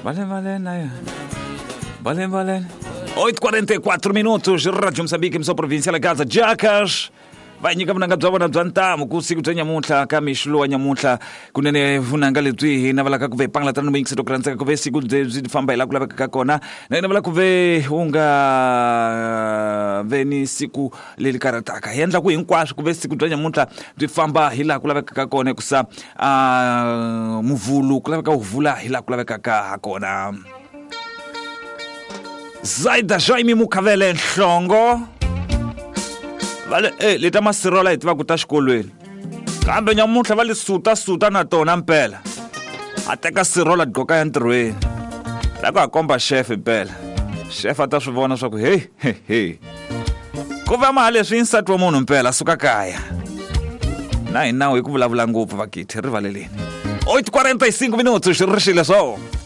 Vale, vale, na Vale, vale. 8:44 minutos, Rádio Moçambique, emissão provincial Gaza Jacas. Va nyika vunanga bya vona bya ntamu ku siku bya nyamuntlha ka mixo lowa nyamuntlha kunene vunanga lebyi hi navelaka ku ve pangalatana ni muyingiselo ku rhandzeka ku ve siku byi famba hi laha ku laveka ka kona na hi navela ku ve u nga ve ni siku leri karhataka hi endla ku hinkwaswo ku ve siku bya nyamuntlha byi famba hi laha ku lavekaka kona hikusa muvhulu ku laveka wu vula hi laha ku lavekaka ha kona. Zaida Jaime Mukhavele Nhlongo va le eh leta masirola hi tivaka ta xikolweni kambe nyamuntlha va le suta suta na tona mpela a teka sirola gqoka ya ntirhweni la ku a komba chef mpela chef a ta swi vona swa ku hey hey hey ku va maha leswi nsati wa munhu mpela suka kaya na hi nawu hi ku vulavula ngopfu vakithi rivaleleni 8:45 minutos xi ri xile swo.